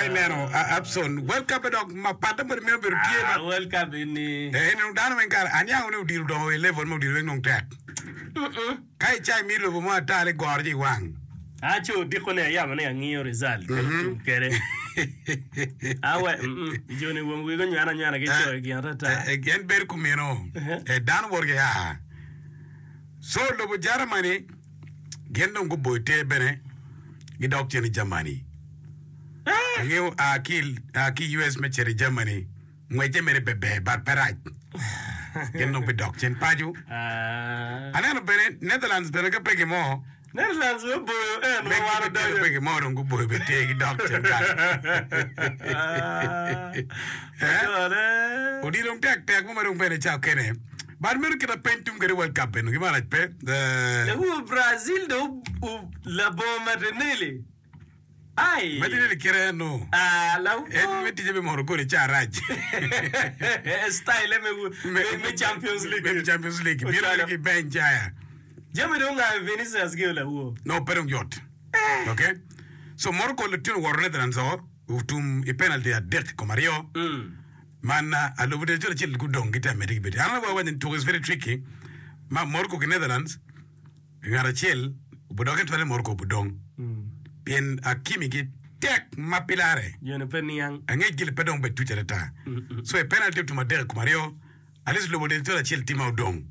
Ka ineno Abson, World Cup-pe dok mapatte bene meno obedo tye ma. World Cup eni. Eh, eni dong dano weng kare aniango ni odilo odongo i level me odilo weng dong tek. Ka ica imiyo lobo mo ata ni goro ci iwang. Aco odiko ni ayamo ni angiyo result ka otum kede. Awe, mm, joni wong wigi onywena anywena ki coyo gin atata. Eh, en bedo kumeno. Eh, dano woto ki a. So lobo Germany gin dong guboyo ter bene gidok cen i Germany. Angeyo a ki a ki US me cito i Germany ngwecce mere pe ber but pe rac. Gin dong bidok cen paco. Aneno bene Netherlands bene ka pe gimo Netherlands bene oboyo en ma wan odonyo. Pe gimo dong guboyo bene ter gidok cen kany. Odilo dong tek tek mo ma dong bene ca okene. But meno kit ma peny tum kwede World Cup eno gima rac pe. Lawu Brazil dong labongo Martinelli. Ai. Martinelli kite eno. Ah, lawu. En me ticce me moro gol i ca rac. Style me, me Champions League. Me Champions League. Bino ki bench aya. Jami dong ongayo Vinicius gi olawu. No, pe dong yot. Okay. So Morocco litino woto Netherlands o otum i penalty adek i kom aryo. Man alubo del col acel gudong gitye amedde ki bedo. An awaco ni tuko is very tricky ma Morocco ki Netherlands ngat acel obudok en twere Morocco obudong pien Hakimi gi tek ma pe lare. Joni pe niang. Angec gili pe dong bed tuc atata. So i penalty otum adek i kom aryo at least lubo del col acel tye ma odong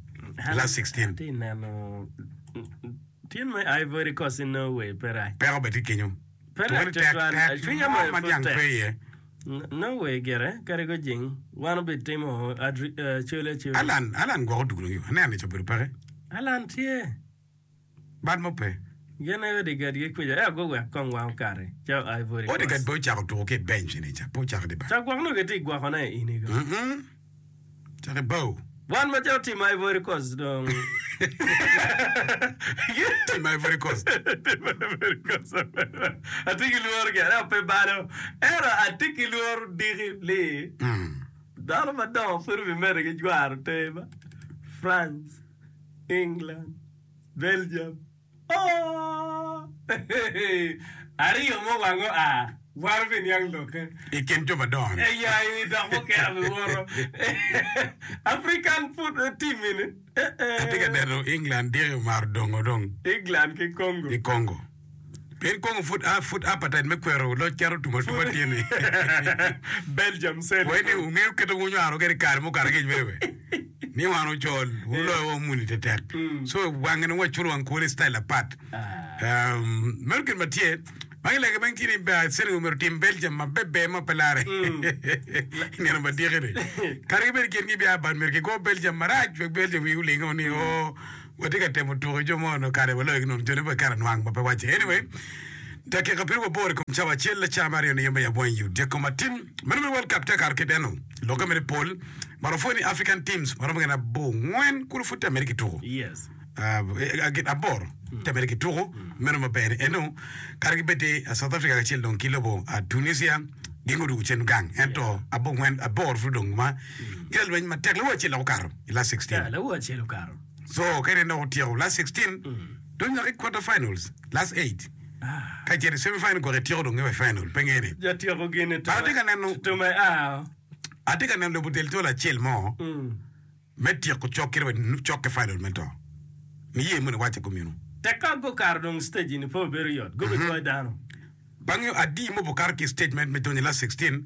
i last 16. Atye neno tin me Ivory Coast ki Norway pe rac. Peko bene tye kenyo. Pe Tuko rac ni tek tutwal. tek Cwinya mo moyo ma pud niang tek. pe iye. Norway gire kadi gujing wan obitimo col acola. Alan, Alan gwoko dul nyo aneno ni obedo peke. Alan tye. Bad mo pe. Gin aye Odegaard ki kwica ento guwek kong wan okati calo Ivory Coast. Odegaard pe ocako tuko ki i bench ni ca, pe ocako di bar. Ca gwok nongo gitye ka gwokone i ini go. Cak i bao. Wan macalo team Ivory Coast dong. Team Ivory Coast. Team Ivory Coast. Atye ki lworo gire ento pe balo. Ento atye ki lworo diki ni dano madongo pud obimedde ki jwaro ter ba. France, England, Belgium. Aryo mo wang oa, wan obiniang lokke. I kin jo madongo-ni. Eya, i wi dok mukene obiwoto. African foot team eni. Atye ka neno England diki omaro dongo dong. England ki Congo. Ki Congo. Pien Congo pud pud appetite me kwero loc cito otum atuma tye ni. Belgium said. Wai ni wungeyo kit ma wunywaro kwede i kare mukato angec mere we. Ni wan ocol, wuloyo wa muni tetek. So wange dong waculo wang kwone i style apat. Um, meno gin ma tye. Ma gilege meno tye ni ba Senegal myero otim Belgium maber ma pe lare. I nino madiki ni. Kadi gibed gin gibia but myero gigo Belgium marac wek Belgium wigi olingo ni oo Watye ka temo tuko ki jo mo onongo kare waloyo ki nono jone pe kare nwang ma pe wacce. Anyway, dakika piri waboro i kom cawa acel cawa me aryo ni yombe yab wang i odyeko matin. Meno me World Cup tye kato ki deno lokke mere pol ma wapwoyo ni African teams maromo gin abongwen kulu pud tye mere ki tuko. Yes. Uh, gin aboro tye mere ki tuko meno maber ni eno kare ki bed South Africa kacel dong ki lobo uh, Tunisia gin gudwogo cen gang ento abongwen aboro pud odong ma gin lweny matek lawo acel dok okato i last 16. Yeah, lawo acel okato. So ka in dong otyeko last 16 dong nyaka i quarter finals, last 8. Ka icito i semi final gwok ityeko dong i final pe ngene. Jatyeko gini But atye ka neno tume a. atye ka neno lobo del col acel mo me tyeko cok kite wa cok ki final me to. Niye moni waco kumeno. Tek ka gukato dong stage ni pe obedo yot. Gubigoyo dano. Bange adi mo bukato ki i stage me donyo i last 16,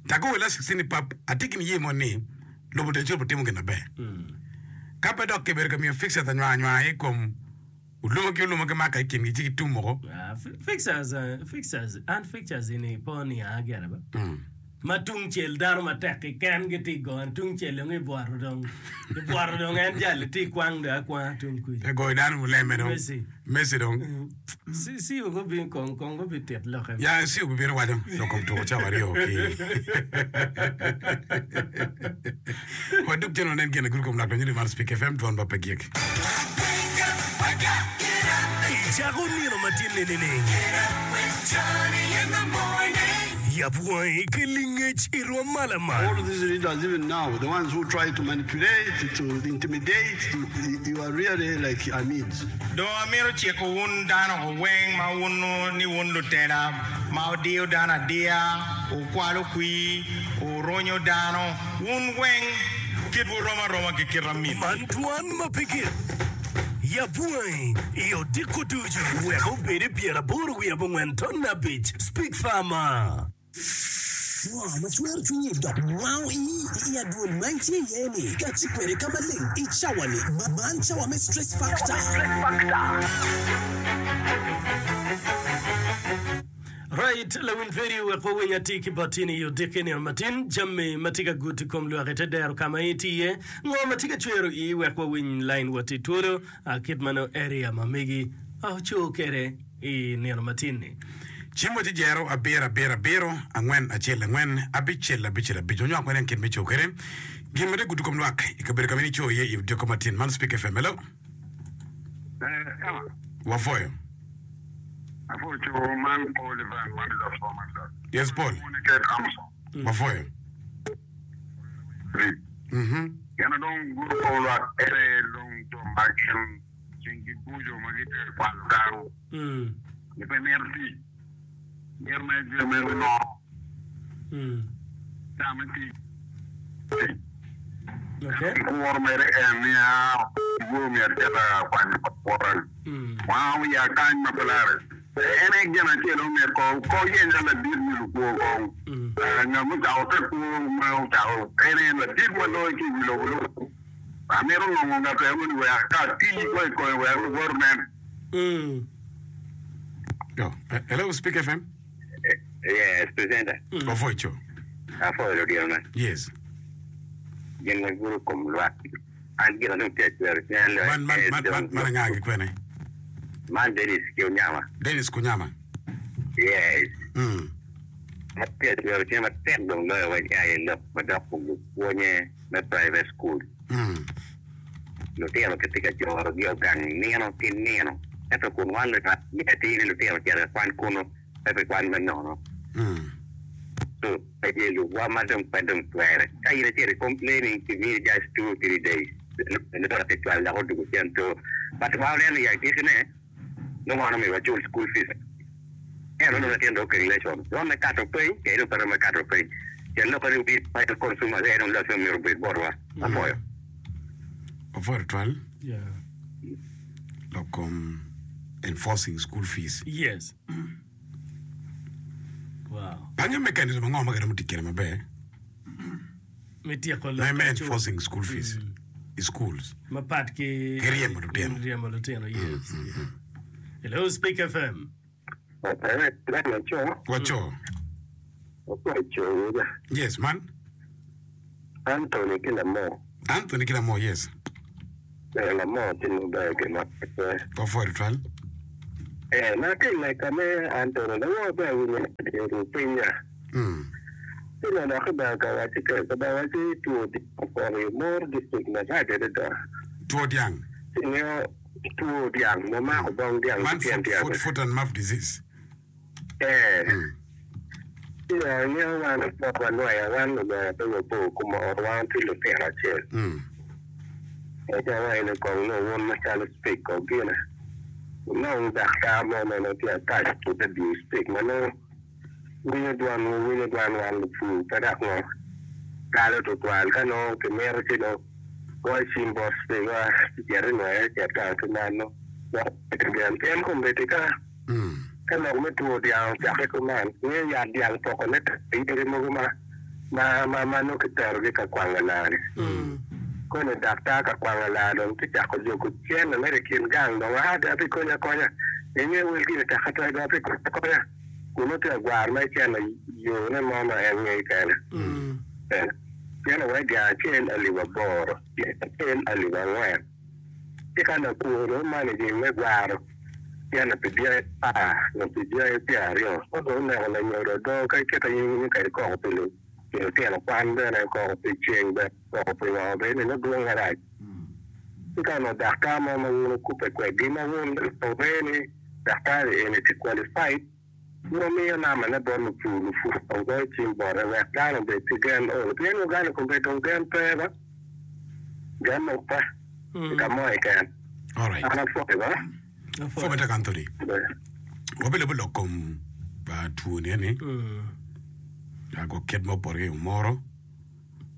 dok o i last 16 ni pap atye ki niye mo ni lobo del col butimo gin maber. Ka pe dok kibedo ka miyo fixtures anywanga anywanga i kom oluma ki oluma gimako i kingi ci gitum woko. Fixtures, fixtures, an fixtures eni pe onianga gire ba. Ma tung cel dano matek keken gitye i gone, tung cel dong ibwoto dong, ibwoto dong en jal itye ikwang dong akwanga tung kuca. Te goyo dano muleme dong. Messi. Messi dong. Ci gubin kong kong gubitit lokke. Ya ci obibino waco lok kom tuko cawa aryo ki wadug cen wanen gin agulu kom lak donyo ni man Speak FM dwon ba pe gik. Icako nino matinni nining? Yab wangi ki lingec i rwom ma lamal. All these leaders even now, the ones who try to manipulate, to intimidate, to, you are really like Amids. Dong amito ciko wun dano weng ma wunnu ni wun lutela. ma wudiyo dano adiya, wukwalo kwir, wurunyo dano, wun weng kitwu rom aroma ki kit aminni. Man dwan ma pe gik. Yab wangi i odiko ducu wek obed i pyeraboro wiye abongwen ton abic. Speak Farmer. Ngo ma cwero cwinyi dok wango ii i adwol ma itye iye-ni? Kati kwede ka maleng i cawa-ni. Man cawa me Stress Factor. Right, lawiny radio wek wawiny atir ki bot in i odiki nino matin jami ma tye ka gudo i kom lwak i te dero ka ma itye iye. Ngo ma tye ka cwero ii wek wawiny line wot i twolo kit ma nongo area ma megi oco kwede. I nino matin-ni. Cim wa ci jero abiro abiro abiro angwen acel angwen abicel abicel abic. Wanywak wene kit me co kwede gin ma tye gudo kom lwak i kabedo ka ma in ico iye i odiko matin. Man Speak FM. Hello. Wapwoyo. Apwoyo co man Paul Ivan man Lapwo man. Yes Paul. Wapwoyo. Mhm. Gin dong gudo kom lwak ene dong jo ma gin Cinggi buco ma gitye ka kwalo dano ni pe mito tic, mito mere jami mere nono, ca me tic tic. Kuro mere en ni aa iwor myero icit ka kwanyo wota wango wiya kany ma pe lare. En aye gin acel ma myero ko ko yenya ladit wi lukwo kong ngat mucako te kwo ma ocako en aye ladit ma loyo ki i wi lobo lung. Amito nongo ngat eno ni wek ka ati ko i kome wek luwot onen. Yo, hello, Speak FM. Yes, presenter. Wapwoyo co. Apwoyo lutino na. Yes. Gin ma gudo kom lwak. An gin dong tye acwero cwinya loyo. Man, man, man, man, man anga ki kwene? Man Dennis ki Onyama. Dennis Kunyama. Yes. Mm. Atye acwero cwinya matek dong loyo weng aye lok madok kom lupwonye. me private school. Lutino kitye ka jorogi o gang nino ki nino ento kun wan lunywal mitte atir ni lutino ocito i kwan kunu pe pi kwan me nono. So pe tye lubwa ma dong pe dong twere. Ka in icito i complaining kimini just two three days nongo kicwalo dok odwogo cen so but wan waneno i agikine nongo wan omyero wacul school fees ento nongo latin dong okeng lesson romo me kato piny kadi dong pe romo me kato piny pien lok ni we as consumers aye dong loss myero obed botwa apwoyo. Apwoyo tutwal lok kom enforcing school fees. Yes. Wow. Panyo mechanism ango ma kiromo tic kwede maber? Me tyeko Me lok me ka cul. enforcing school fees i schools. Mapat ki Ki ryemo lutino. Ryemo lutino, yes. Yeah. Hello, Speak FM. Waco. Yes, man. Anthony ki Lamor. Anthony ki Lamor, yes. Eh, Lamor tye maber gin ma pe. Wapwoyo tutwal. Eh, ma ki i leka me Anthony, lawor ber winyo ru pinya. Mm. Ci nongo dok kibedo ka wacci ke, kibedo wacci two dyang opoto i Omoro district marac adada. Two dyang. Ci ingeyo two dyang ma mako bong dyang Man ki tyen foot, dyang. foot, foot and mouth disease. Eh. Mm. Ci dong ingeyo wan bot wanwaya, wan lunyodo pe wabor kumoro, wan tye lutino acel. Mm. Ento awaco ni kong nongo wun macalo Speke kong gine, wunong daktar mo ma nongo tye attached to the Speke ma nongo Winyo dwanwu, winyo dwan wan lupur, pe dok ngo kalo tutwal. Ka nongo kimito ci dong goyo cim bot Speke ci cit inwoye cet gang ki man dok bedo gen. Pien kombeddi ka ka lok me two dyang ocakke kuman, ngeyo yat dyang pokone tek yadi mogo ma ma ma ma nongo kiterogi ka kwango laa-ni. Koni daktar ka kwango laa dong tye cako jogo cente mere i kin gang dong aa dong abikonyi akonya inge wel gini tek atwal dong abikonyi akonya. Kun tye agwar ma iceno yone mo ma en ngeyo kene. Cene wai dyang acel alip aboro, dyang acel alip angwen. Ci ka lakwor dong managing me gwaro cene pi dyangi apar nyo pi dyangi pyeraryo, ka dong oneko lanyodo odo ka ikite in iwinyo kadi koko pi lutino kwan bene, koko pi ceng bene, koko pi ngo bene nongo dwong marac. Ci ka onongo daktar mo ma wun wukubbe kwedgi ma wun wungeyo ni daktar-ri eni tye qualified, wun wumiyo nambane bot lupur, lupur dong goyo cim bote wek dano obed ki gen olo. Pien Uganda kombeddi dong gen pe ba, gen dong pe i ka mo keken. Alright. An apwoyo ba. Pwony matek Anthony. Wabilubo lok kom. two ni eni gwok kit ma opoto ki i Omoro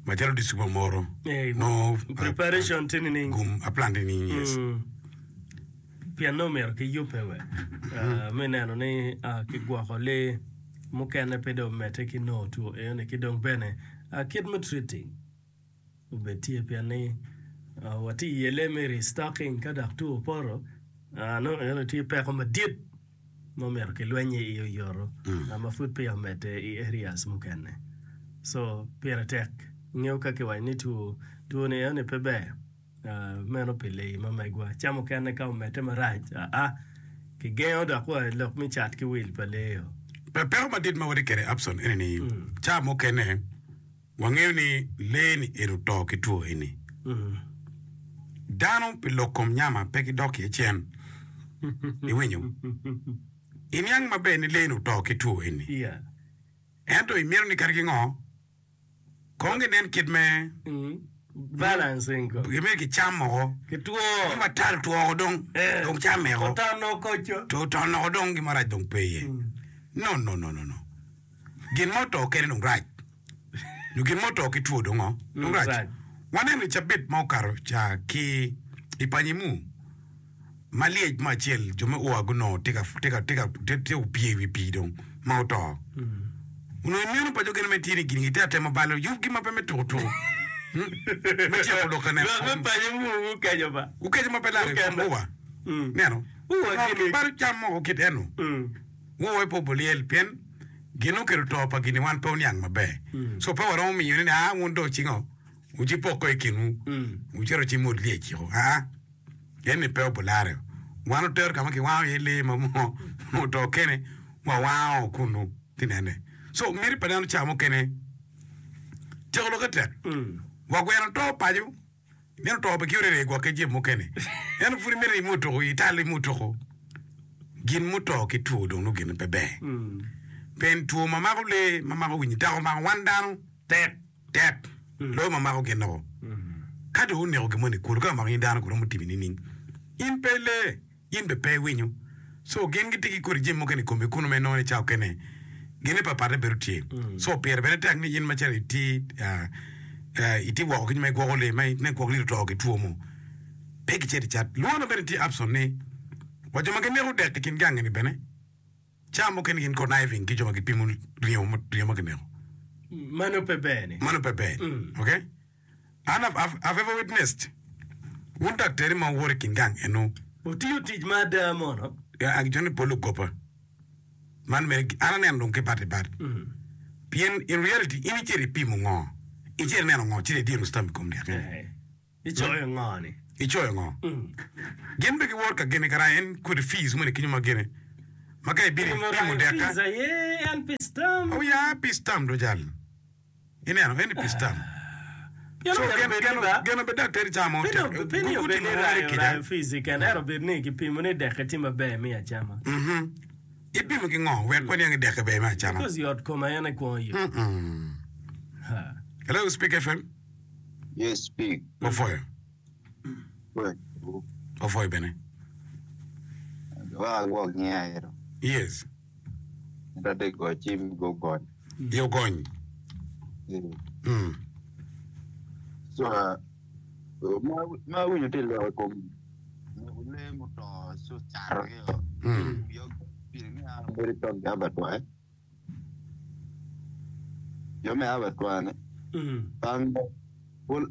macalo district me Omoro nongo Preparation tye nining? gum a plan tye nining yes. Pien nongo myero ki yubbe we me neno ni kigwoko lee mukene pe dong omedde ki nongo two eno-ni ki dong bene kit me treating. Obed tye pien ni watye i yelle me restocking ka dok two opoto, nongo eno tye peko madit ma omyero kilweny iye oyoto ma pud peya omedde i areas mukene. So pire tek ingeyo ka kiwaco ni two two ni eno ni pe ber meno pi leyi ma megwa. Ca mukene ka omedde marac aa kigengo dok wa lok me cat ki wil pa lee-o. Peko madit ma watye kwede Abson ene ni ca mukene Wangeyo ni lee-ni eni oto ki two eni. Dano pi lok kom nyama pe gidok iye cen. Iwinyo? Iniang maber ni lee-ni oto ki two eni. Ento imito ni kadi ki ngo, kong ginen kit me gimito gicam woko. Ni matal two woko dong, dong camme woko. Oton woko dong gin marac dong pe iye. No, no, no, no, no. Gin ma oto kene dong rac, nyo gin ma oto ki two dong ngo? Dong rac. Waneno i cabit ma okato ca ki i Panyimu ma lyec mo acel jo me ua gunongo tye ka tye ka tye ka tye opye i wi pii dong ma oto. Onongo ineno paco gin me tye ni gin gitye ka temo balo yubgi ma pe me tuko tuko me tyeko lok ka neno Lwak me Panyimu gukeco ba. Gukeco ma pe laro i kom ua. Neno? Balo cam moko kit eno. Wuwe pe obulyel, pien gin okelo to pa gin-ni wan pe wuniang maber. Co pe waromo miyone ni, 'Aa, wun dong cingo, wucipoko i kinwu, wucito wucimot lyec-ciko. Aa, en-ni pe obularre. Wan otero ka ma kiwango iye lee ma oto kene, wawango kunnu tinene. Co miti pa dano ca mukene tyeko lokke tek. Wa gweno to paco. Meno to pe ki orere gwok ki jami mukene. Ento pud imito ni imutuku, ital imutuku. Gin muto ki two dong nongo gine pe ber. Pien two ma mako lee, ma mako winyi, dok omako wan dano tek tek loyo ma mako gin woko. Ka dong oneko gin moni kulu, ka omako in dano romo timi nining? In pe lee. In bene pe iwinyo. So gin gitye ki kodi jami mukene i komi kunu ma inongo ni cawa okene gine papatte bedo tye. So pire bene tek ni in macalo itye itye woko ki nyo ma igwoko lee ma inen gwok lee oto ki two mo pe gicito icat. Lworo bene tye Abson ni wa jo ma gineko dek i kin gangi ni bene Cawa mukene gin conniving ki jo ma gipimo ringo ringo ma kineko. Mano pe ber ni. Mano pe ber. Okay? An I've, I've, I've ever witnessed wun daktari ma wuwoto i kin gang eno. Wutiyo tic ma ada mono? Ya, jo ni pol lugoba. Man mere, an aneno dong ki bat i bat. Pien in reality, in icito ipimo ngo? Icito ineno ngo? Cito idiro stamp i kom dyek eni. Icoyo ngo ni? Icoyo ngo? Gin be giwot ka gene kara en kodi fees moni kenyo ma gene ma ka ibino ipimo dek ka. Fees aye en pi stamp. Oh ya pi stamp do jal. Ineno en pi stamp. So geno be daktari ca mo tek. Pe ni obed ni rayo rayo fees keken ento obed ni kipimo ni dekke tye maber me acama. Ipimo ki ngo wek waniang ni dekke ber me acama? Because yot koma en aye kwongo yot. Hello Speak FM. Yes, speak. Wapwoyo. Wapwoyo bene. Wa agwok nyinga ero. Yes. Ento de go cim go gony. Yo gony. Mm. So, uh, ma ma awinyo tye lok i kom neko lee muto so cato gi o. Mm. Yo pire ni an abedo i tok abattoir. Jo me abattoir-ni bang pol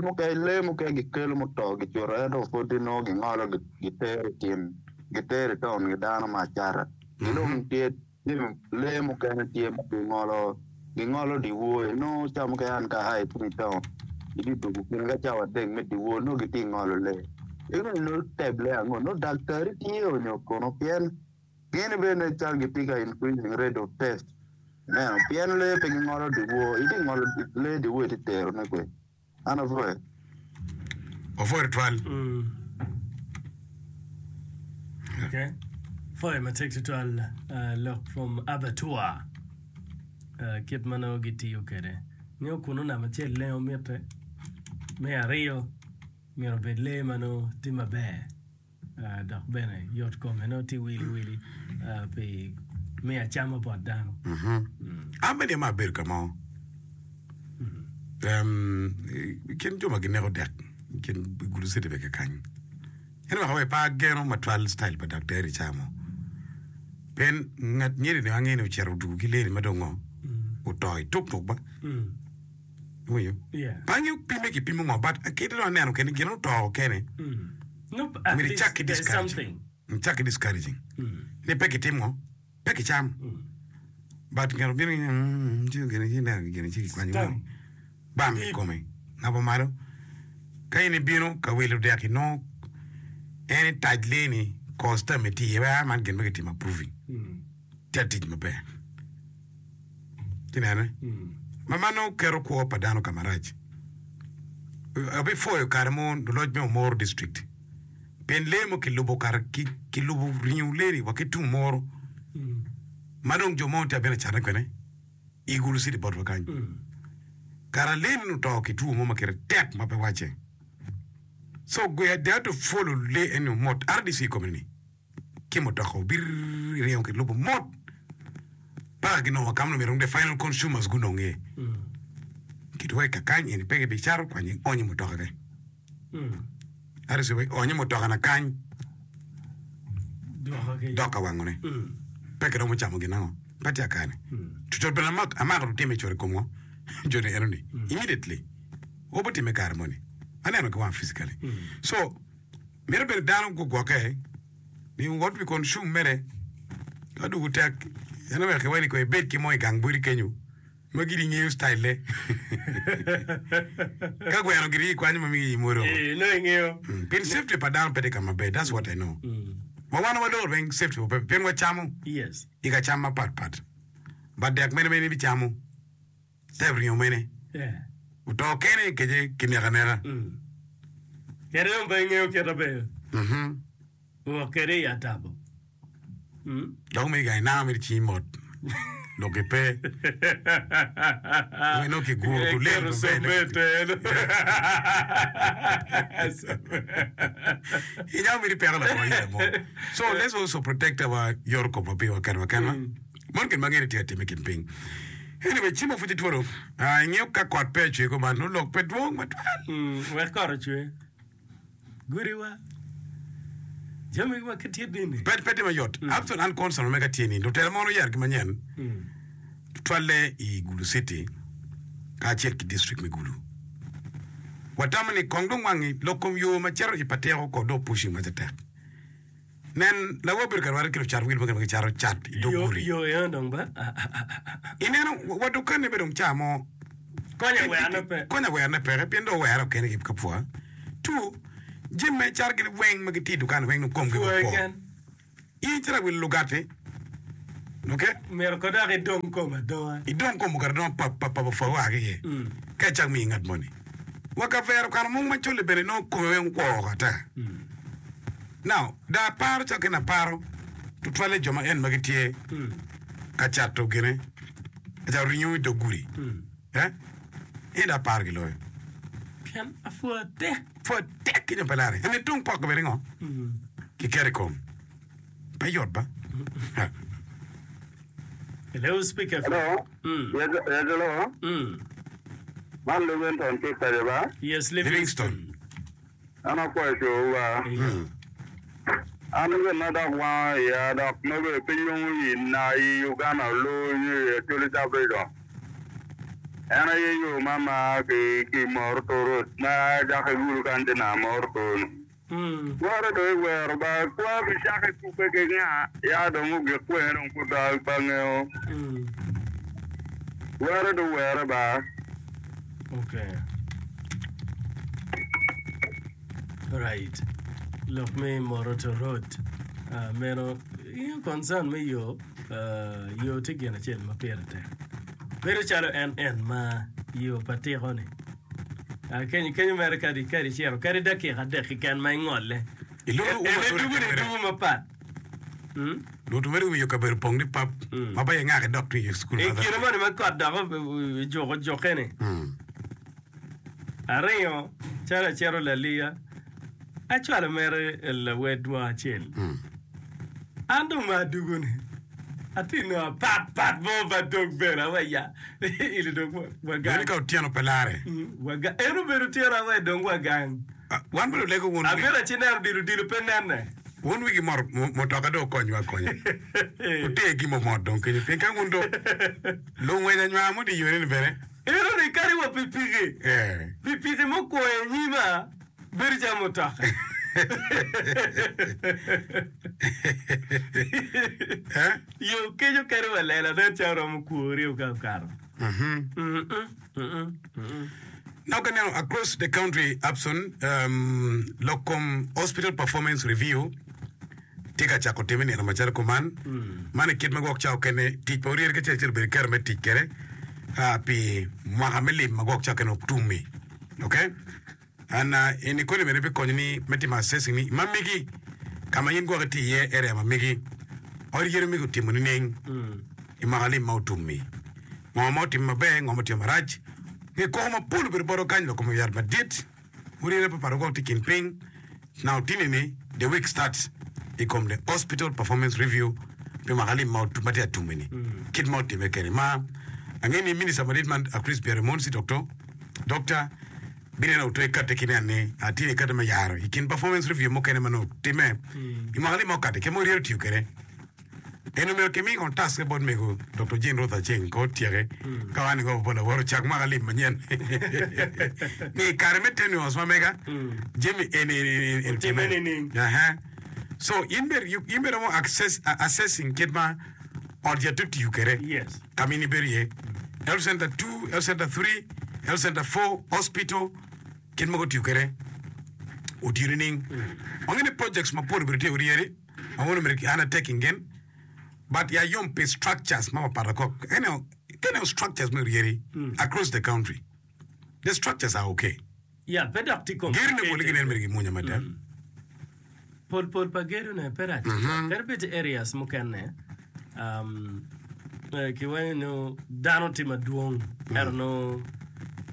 mukene lee mukene gikelo muto gicuto ento pud nongo gingolo gitero i tim gitero i taun ki dano me acata ki dong tye lee mukene tye ma gingolo gingolo dyewor inongo ca mukene an ka aa ki i taun itye dwogo kine ka cawa adek me dyewor nongo gitye ka ngolo lee ento nongo teb lee ango nongo daktari tye onyo kono pien Gin bene cal gitye ka increasing rate of theft ineno pien lee pe gingolo dyewor itye ngolo lee dyewor itye tero ne kwe an apwoyo. Wapwoyo tutwal. Okay. Pwoyo matek tutwal uh, lok from abattoir uh, kit ma nongo gitiyo kwede. Ngeyo kunu namba acel lengo mitte, me aryo myero obed lee ma nongo tye maber. Dok bene yot kome nongo tye wili wili pi Me acama bot dano. An bene ma abedo ka mo, i kin jo ma gineko dek i kin Gulu City bene kakany, en oweko wa pe ageno matwal style pa daktari ca mo. Pien ngat nyeri ni angeyo ni ocito otugo ki lady ma dong ngo oto i tuk tuk ba. Iwinyo? Pe angeyo pime kipimo ngo but kite dong aneno kene gin oto kene. Myero icak ki discouraging. Icak ki discouraging ni pe kitim ngo pe kicam. But ngat obino ni ci gine ci ineno gine ci kikwanyo bam i kome ngabo malo. Ka in ibino ka wilo dek inongo en itac lee ni cause term tye iye wek man gin ma kitimo approving tye atic maber. Ci nene ma man nongo keto kwo pa dano ka marac. Abipwoyo kare mo luloc me Omoro district pien lee mo kilubo kare kilubo ringo lee-ni wa ki tung Omoro ma dong jo mo tye abino acatone kwene i Gulu City botwa kany. Kara lee-ni oto ki two mo ma kite tek ma pe wacce. So they had to follow lee eni mot RDC i kome ni ki mutoka obir ringo ki lubo mot paka ginongo ka ma myero the final consumers gunong iye. Kidwoke kakany eni pe kibicato kwany ionyo i mutoka kany. RDC owaco ionyo i mutoka na kany dok ka wangone pe kiromo camo gin ango pe tye akane. Cucut bene amako lutime cwalo i kom ngo joni enoni immediately obitime kare moni aneno ki wanga physically so Mito bene dano gugwokke ni what we consume mere ka dwogo tek en oweko kiwaco ni kong ibed ki mo i gang boti kenyo ma giri ingeyo style ne ka gweno giri ikwanyo ma migi imwodo Eh, nongo ingeyo. Pien safety pa dano pe tye ka maber that's what I know ma wan waloro weng safety wa pe pien wacamo Yes. i ka cam mapat pat but dek mene ma in ibicamo Type ringo mene oto kene kece kineko aneka. Kede dong pe ingeyo kite ber. Wok kede i atabo. Dok megi gang inango mere cingi mot lok pe. Nongo kiguro kulel maber. Inyamo meri peko labongo yela mo. So let's also protect our yoto komwa piwa kenwa kenwa. Man gin ma angeyo ni tye ka timme i kin piny. Anyway, cimo pud itwodo. Ah, ingeyo ka kot pe ocwe kuman, nongo lok pe dwong matwal. Mm, wek kot ocwe. Gudiwa. Jami ma kitye dini. Pe, pe tye mayot. Mm. Abson an concern ma mega tye ni lutela mono oyero ki manyen mm. tutwalle i Gulu City kacel ki district me Gulu. Watamo ni kong dong wangi lok kom yo ma cito i Patiko kong dong pushing matek. Nen, lawa obedo ka rwate ki lucat wil mukene ma gicato cat i dog gudi. Yo eno dong ba. Ineno, wa dukanne bene dong ca mo. Konya werane pe. Konya werane peke, pien dong owere okene ki kapwa. Two, jami ma icato gin weng ma gitye i dukan weng dong komgi Pwoye kwo. ken. In icito awilo lugati, ok? Myero ko dok idong kom adonga. Idong kom ogato adonga pap pap pap opwa wa ki iye. Ka icak miyo ngat moni. Wa kavera okano mung macol-li bene nongo kome weng okwo woko ata. Now, dong aparo calo kene aparo tutwalle jo ma en ma gitye ka cato gine, ka cato ringo i dog gudi. Eh? En dong aparo giloyo. Pien apwa tek. Pwa tek ki nyo pe lare. Eni tung poko bene ngo? Kiketo i kom. Pe yot ba? Ha. Hello, Speaker. Hello. Yes, yes, hello. Man Livingstone tye kwede ba? Yes, Livingstone. An akwayo cowu ba. An gin ma dok wango iya dok nongo pe yomo i na i Uganda oloo nyo i Acholi Sub Region en aye yo ma ma ki ki Moroto Road ma cako i Gulu kany te nam Moroto ni. Twere dong i wero ba kwa bi cako i kubbe ki nga ya dong ogik kwene dong pud pe angeyo. Twere dong were ba. Okay. Right. Lok me Moroto Road. Uh, meno ingo concern me yo, uh, yo tye gin acel ma pire tek. Bedo calo en en ma yo pa tiko ni. Uh, kenyo kenyo mere kadi kadi cito kadi dakika adek keken ma ingolle. Iloro En uma en tore dugu ni kamera. dugu mapat. Mm? Luto mere wiyo kabedo pong ni pap ma ba ingake dok twi i cukul I kine moni ma kot dok ojuko jukke-ni, aringo calo acito laliya, acwalo mere lawedwa acel. An dong ma adugo-ni, Atye nongo apat pat mo pa dog bene awe ya ili dong wa gang. Bene ka otyeno pe lare. Wa gang. En obedo otyeno awe dong wa gang. Wan bene olego wun. Abino ci neno odilo odilo pe nene. Wun wigi mot mutoka dong okonywa akonya. Wuter gi momot dong kenyo pien ka wun dong lungwec anywar mo tye yone ni bene. Eno ni kadi wa pikipiki. Pikipiki mukwongo i nyima bedo calo mutoka. Yo kenyo kadi wa lela nen calo romo kwori ka okato. Now ka ineno across the country Abson, um, lok kom hospital performance review tye ka cako time nino macalo kuman. Man i kit ma gwok ca okene tic pa oryeri kacel acel obedo kero me tic kwede ah, pi mwaka me lim ma gwok ca okene otum-mi. Okay? And uh, in ikoni bene bikonyo ni me timo assessing ni ma megi ka ma in gwok itye iye area ma megi ot yeri megi otimo nining i mwaka lim ma otum-mi. Ngo ma otimo maber, ngo ma otimo marac. Nge koko mapol obedo botwa kany lok kom yat madit murine papat woko tye i kin piny. Now tini ni the week starts i kom the hospital performance review pi mwaka lim ma tye atum ni kit ma otime kede ma ange ni minister madit man Chris Byeremunsi Doctor Doctor bineno otwe kati ki nen ni atini kati me yaro i kin performance review mukene ma nongo time i mwaka lim ma okati kit ma oryero tiyo kede. En omyero kimi kong task bot mego Doktor Jane Ruth Aceng ka otyeke ka wan ingo bot lawot ocak mwaka lim manyen ni i kare me tenures ma mega jami eni eni eni Otime otime. nining? Aha. So in bene you- in bene romo access, assessing kit ma ot yat otiyo kwede Yes. ka ma in ibedo iye. Health center 2, health center 3, health center 4, hospital kit ma gutiyo kwede otiyo nining? Wangeyo ni projects mapol obedo tye oryeri. Ma wun omyero ki undertaking gin but ya yom pi structures ma papat akok ka ineno structures me oryeri across the country the structures are okay Yeah, pe dok tye Gedo ne pole complicated. ginen mere gimunya mada. Pol pol pa gedo ne pe rac tutwal. Kadi bed areas mukene um, eh, kiwaco ni dano tye madwong ento nongo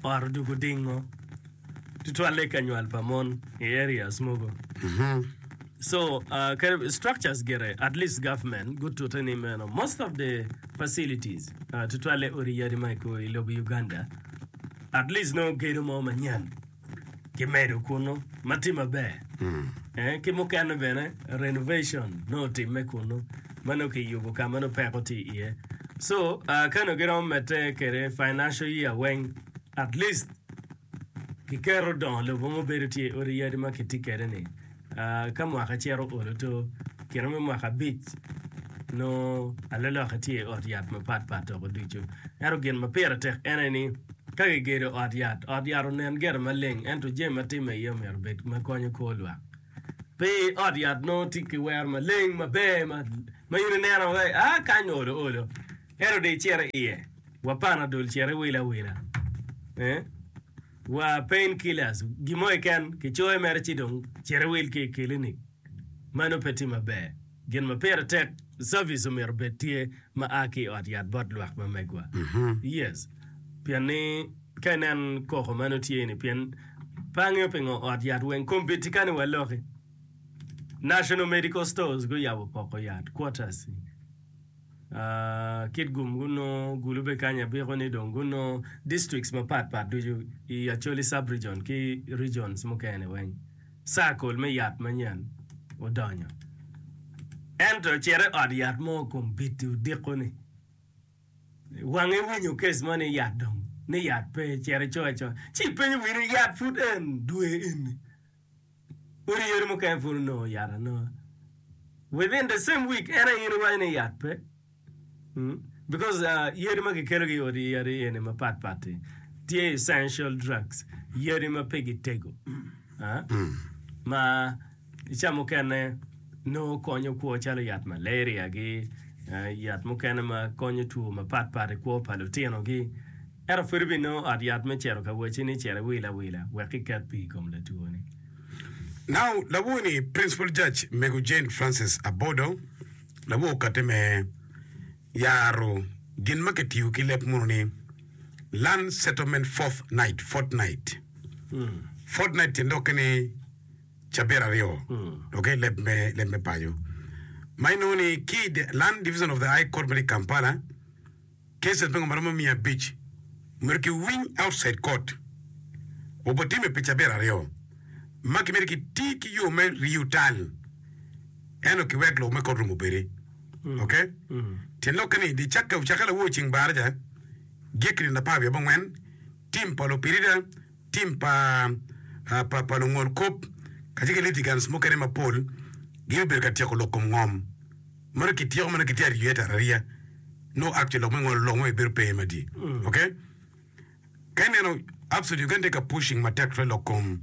ot odwogo dingo. tutwalle ka nywal pa mon i areas mogo. So uh, kadi structures gire at least government gutute ni meno most of the facilities uh, tutwalle odi yadi ma i kor i lobo Uganda at least nongo gedo mo manyen kimedo kunu ma tye maber eh, ki mukene bene renovation nongo otimme kunu ma nongo kiyubo ka ma nongo peko tye iye. So uh, ka nongo giromo medde kwede financial year weng at least Kiketo dongo lobo ma obedo tye i odi yadi ma kitye kwede-ni. Ka mwaka cito olo to, kine me mwaka abic, nongo aloloka tye i ot yat mapat pat woko ducu. Ento gin ma pire tek en aye ni, ka kigedo ot yat, ot yat onen gire maleng, ento jami ma timme iye omyero obed ma konyo kor lwak. Pe ot yat nongo tye ki wero maleng maber ma in ineno wai, aa kany olo olo, ento dong icito iye. Wa panadol cito iwil awila eh wa pain killers gin mo keken kicoyo mere ci dong cito iwil ki i kilinik mano pe tye maber. Gin ma pire tek service omyero obed tye ma a ki i ot yat bot lwak ma megwa. Yes pien ni ka inen koko mano tye ni pien pe angeyo pingo ot yat weng kombeddi kani waloki National Medical Stores guyabo poko yat quarters. Kitgum gunongo, Gulu bene kany abiko ni dong gunongo districts mapat pat ducu i Acholi sub region ki regions mukene weng circle me yat manyen odonyo. Ento cit i ot yat mo kombeddi odiko ni wange winyo case mo ni yat dong ni yat pe cit ico acoa ci ipenyo wini yat pud en dwe eni. Odi yadi mukene pud onongo yat anonga. Within the same week en aye in iwaco ni yat pe. Mm. Because uh, yadi ma kikelogi i odi yadi eni mapat pat-ti tye essential drugs, yadi ma pe gitego. Ah? Ma i ca mukene nongo konyo kwo calo yat malaria-gi, eh, yat mukene ma konyo two mapat pat i kwo pa lutinogi. Ento pud ibinongo ot yat me cito ka wacci ni cit iwil awila wek iket pii i kom latwoni. Now lawor ni Principal Judge Mego Jane Frances Abodo lawor okate me yaro gin ma kitiyo ki leb munu ni Land Settlement Fourth Night, Fortnight. Fortnight tyen lokke ni cabit aryo, ok, leb me, leb me paco. Ma inongo ni ki i The Land Division of the High Court ma tye i Kampala, cases me ngo maromo 500 myero kiwiny outside court obitimme pi cabit aryo ma kimito kiti ki yo me riyo tal ento kiwek lok me court room obedi. Ok? Tyen lokke ni di cakke ocakke lawor ceng baraja gik nino 14, tim pa lupirida, tim pa pa pa lungol kop kacel ki litigants mukene mapol gibibedo ka tyeko lok kom ngom. Meno kityeko meno kitye ariya ariya nongo actually lok me ngolo lok mo bedo pe madye. Ok? Ka ineno Absolute Uganda tye ka pushing matek tutwal lok kom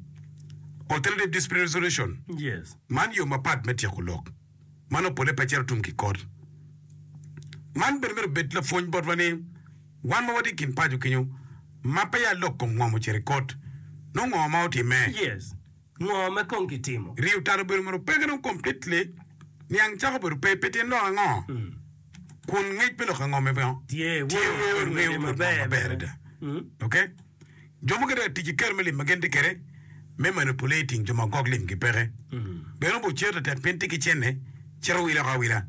alternative dispute resolution. Yes. Man yo mapat me tyeko lok. Man opole pe cito tum ki kot. Man bene myero obed lapwony botwa ni wan ma watye i kin paco kenyo ma peya lok kom ngom ocito i kot, nongo ngo ma otimme? Yes. Ngo ma kong kitimo? Riyo tal obedo mono peke dong completely, niang cako bedo pe pi tyen lok ango? Kun ngec me lok ango me ngo? Tye, Tye, wun wungeyo wungeyo ngede maber maber bene. adada. Ok? Jo mukene tye ka tic ki kero me lim ma gin tye kwede me manipulating jo ma gwok limgi peke. Bene obo cito tek pien tye ki cente, cito wilo oko awila.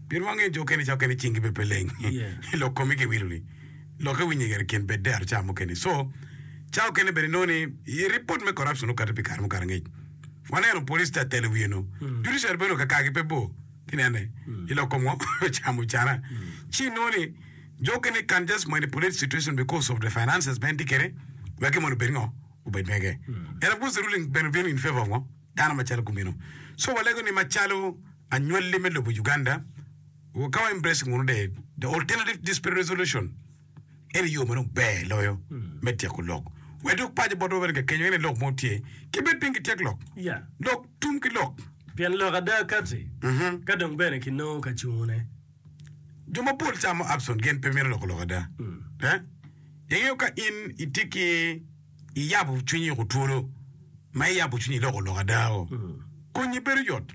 Pien wangeyo jo okene ca okene cingi bene pe leng. Lok komi ki wilo-ni, lokke winye gire kin bed dero ca mukene. So, ca okene bene inongo ni i ripot me corruption okati pi kare mukato angec. Waneno police tye atelo wiye no. Judiciary bene kakagi pe bor. Tinene, i lok kom ngo? Camo cana. Ci inongo ni Jo okene can just manipulate situation because of the finances ma en tye kwede wek gin moni obed ngo? Obed mege. And of course the ruling bene obino in favor of ngo? Dano macalo kumeno. So walego ni macalo anywalli me lobo Uganda, ka wa embracing wunu the, the alternative dispute resolution, en yo ma dong ber loyo me tyeko lok. Wek dok paco botwa bene kakenyo en aye lok mo tye, ki bed piny ki tyek lok. Yeah. Lok tum ki lok. Pien lok ada kati, ka dong bene kinongo ka cungune. Jo mapol camo Abson gin pe mito loko lok ada. Eh? Ingeyo ka in itye ki iyabo cwinyi oko twolo ma iyabo cwinyi iloko lok ada o, konyi bedo yot.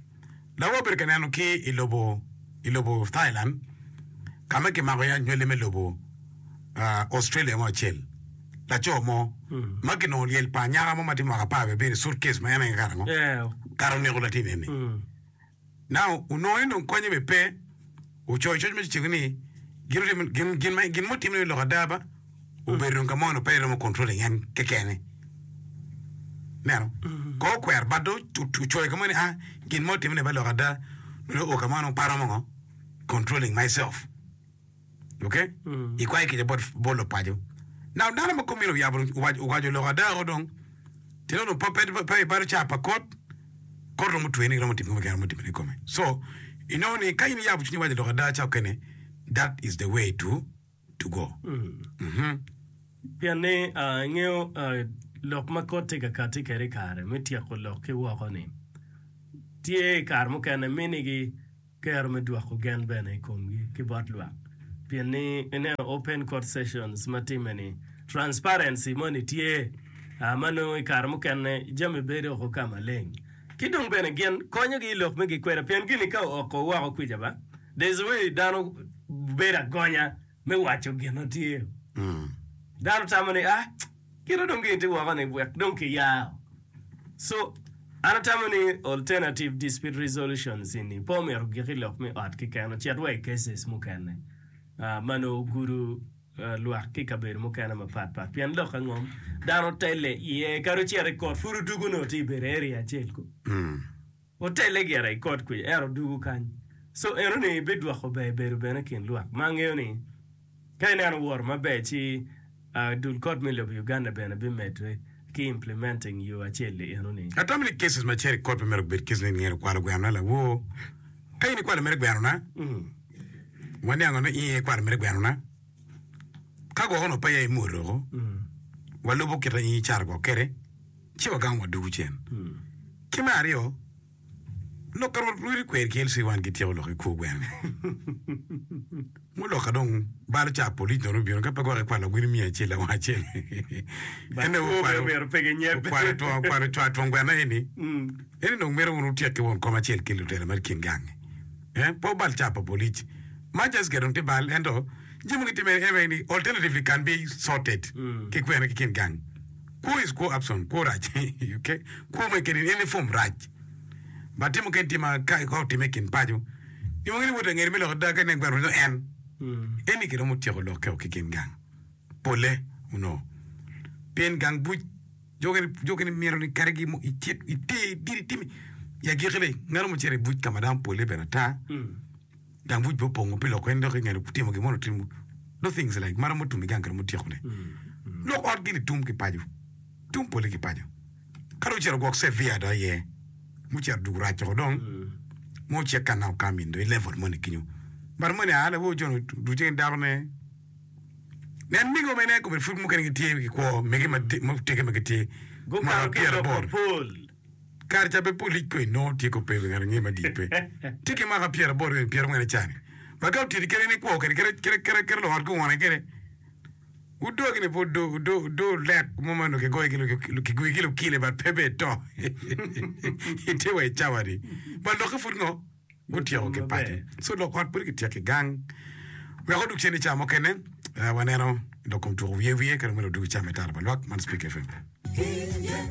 Lawa obedo ka neno ki i lobo i lobo Thailand ka ma kimako iye anywali me lobo ah, Australia mo acel. Laco mo ma kinongo lyel pa anyaka mo ma tye mwaka 17 i suitcase ma en aye kare ango? Eh, Kare oneko latin eni. Now, onongo ni dong konye bene pe, ocoyo coc ma ciciko ni gin otimo gin gin ma gin mutime ni lok ada ba obedo dong ka mo onongo pe eromo controlling en kekene. Neno? Ko okwero but dong ocoyo ka mo ni ah gin mo otime ni ba lok ada nongo o ka mo nongo pe aromo ngo controlling myself. Ok? Ikwayo kica bot bot lupaco. Now dano ma komine oyabo owaco owaco lok ada o dong tyen dong pe pe pe ibalo caa pa kot kot romo tweni romo timo gin romo timone i kome. So inongo ni ka in iyabo cwinyi iwaco lok ada ca okene that is the way to to go. Mhm. Pien ni ah, ingeyo ah, lok ma kot tye ka kati kwede i kare me tyeko lok ki woko-ni tye i kare mukene minigi kero me dwoko gen bene i komgi ki bot lwak pien ni ineno open court sessions ma timme ni transparency moni tye ma nongo i kare mukene jami bedo oko ka maleng ki dong bene gin konyogi i lok me gikweda pien gini ka ooko woko kwica ba there's a way dano bedo agonya me waco gin ma tye dano tamo ni ah Kite dong gin tye woko ni wek dong ki yao. So, an atamo ni alternative dispute resolutions eni pe omyero ogik i lok me ot keken, ocit wa i cases mukene ma nongo ogudo lwak ki i kabedo mukene mapat pat. Pien lok angom dano tele iye kadi ocito i kot pud odugo nongo tye i bedo area acel ku. Otele gire i kot kwica ento odugo kany. So eno ni bidwoko ber bedo bene i kin lwak ma angeyo ni Ka ineno woro maber ci dul kot me lobo Uganda bene bimedre ki implementing yo acel-li eno ni. Atamo ni cases ma cito i kot pe myero gubed cases ni ngat okwalo gweno na lawor. Ka in ikwalo mere gweno na, waniango ni in ikwalo mere gweno na. Ka gwok onongo peya imwodo oko, walubo kit ma in icato gwok kwede, ci wagamo wadugu cen. Ki me aryo, Lok ka Rwot rwodi kwer ki LC wan gityeko lok i kwo gweno. Muloka dong balo ca polic dong obino ka pe gwok ikwalo gweno 100 lawang acel. En dong okwalo okwalo two okwalo cwa twong gweno eni. Eni dong mito wun wutyek ki won kom acel ki lutela ma kin gangi. Eh pe wubal ca pa polic. Ma just ge dong tye bal ento jami ma gitime en ni alternatively can be sorted ki kwena ki kin gang. Kwo is kwo Abson, kwo rac. Okay? Kwo ma kedi in any form rac. But timo kene tye ma ka ka otime i kin paco. Nyo ni wot angeri me lok ada ka inen gweno nyo en. Eni kiromo tyeko lokke o ki kin gang pole onongo. Pien gang buc jo kene myero ni kadi gi icit iter gin itimi. I agikki-ni ngat mo ocito i buc ka ma dano pole bene ata. Gang buc bene opongo pi lok en dok ingeto timo gin mo otimo those things like ma romo tum i gang kiromo tyeko ne. Lok ot gini tum ki paco. Tum pole ki paco. Ka dong ocito gwok severe dong aye mucito dwogo rac woko dong ma ocik ka now come in dong i level moni kenyo but moni aa lawo John oduce ki dako ne nen mego mene kome pud mukene gitye ki kwo mege mutege ma gitye Gukato mwaka ki i lok pyeraboro mapol. kare ca pe polic ko inongo tye ko pe ngat ange madit pe tye ki mwaka pyeraboro nyo pyerangwen cani but ka otiti kene ni kwo kede kede kede kede kede luot guwone kede Wudo gini pe wudo, wudo, wudo lek mo ma onongo kigoyo ki kigoyo ki lukile but pe bene ito. Itye wa i cawa-ni. But lokke pud ngo? Gutyeko ki paco. So lok ot pud kityeko ki gang. Wek odug cen i cawa mukene, eh, waneno lok kom tuko wiye wiye ka dong myero odug i cawa me tara pa lwak. Man Speak FM.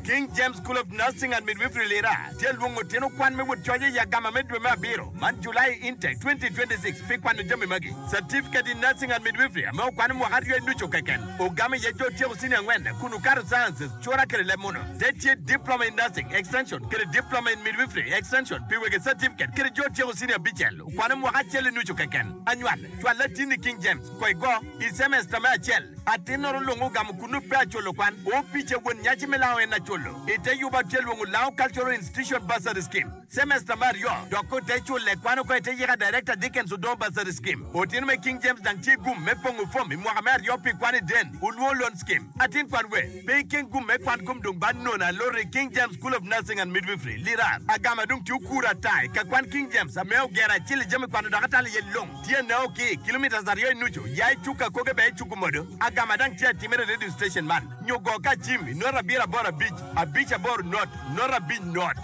King James School of Nursing and Midwifery Lira tye lwongo tino kwan me wot coc i agama me dwe me abiro man, July Intake 2026, pi kwano jami magi, Certificate in Nursing and Midwifery ame okwano mwaka aryo i nucu keken, ogamo iye jo otyeko senior angwen kun okato Sciences, cura kede leb muno. Te tye Diploma in Nursing, Extension, kede Diploma in Midwifery, Extension, pi wege certificate kede jo otyeko senior abicel okwano mwaka acel i nucu keken. Anywal, cwal latinni King James, ko igo, i semester me acel. Atinnoro lung ogamo kunnu pe aculo kwan. Opice won nyaci me lango en aculo. Ite yuba tye lwongo Lango Cultural Institution Bursary Scheme. Semester me aryo dok ote cule kwan oko ite yika Director Dickens Odongo Bursary Scheme. Otino me King James dang tye gum me pongo fom i mwaka me aryo pi kwan i Den Olwongo Loan Scheme. Atin kwan we pe ikeng gum me kwan kom dong ba nono alot i King James School of Nursing and Midwifery, Lira. Agama dong tye okuro ata i ka kwan King James ame ogero acel i jami kwano dok atalo iye long. Tye neo ki kilometres aryo i nucu ya i cuk akoge bene i cuk omodo. Agama dang tye atimere i radio station man nyo go ka cim i not abiro aboro abic abic aboro not not abic not.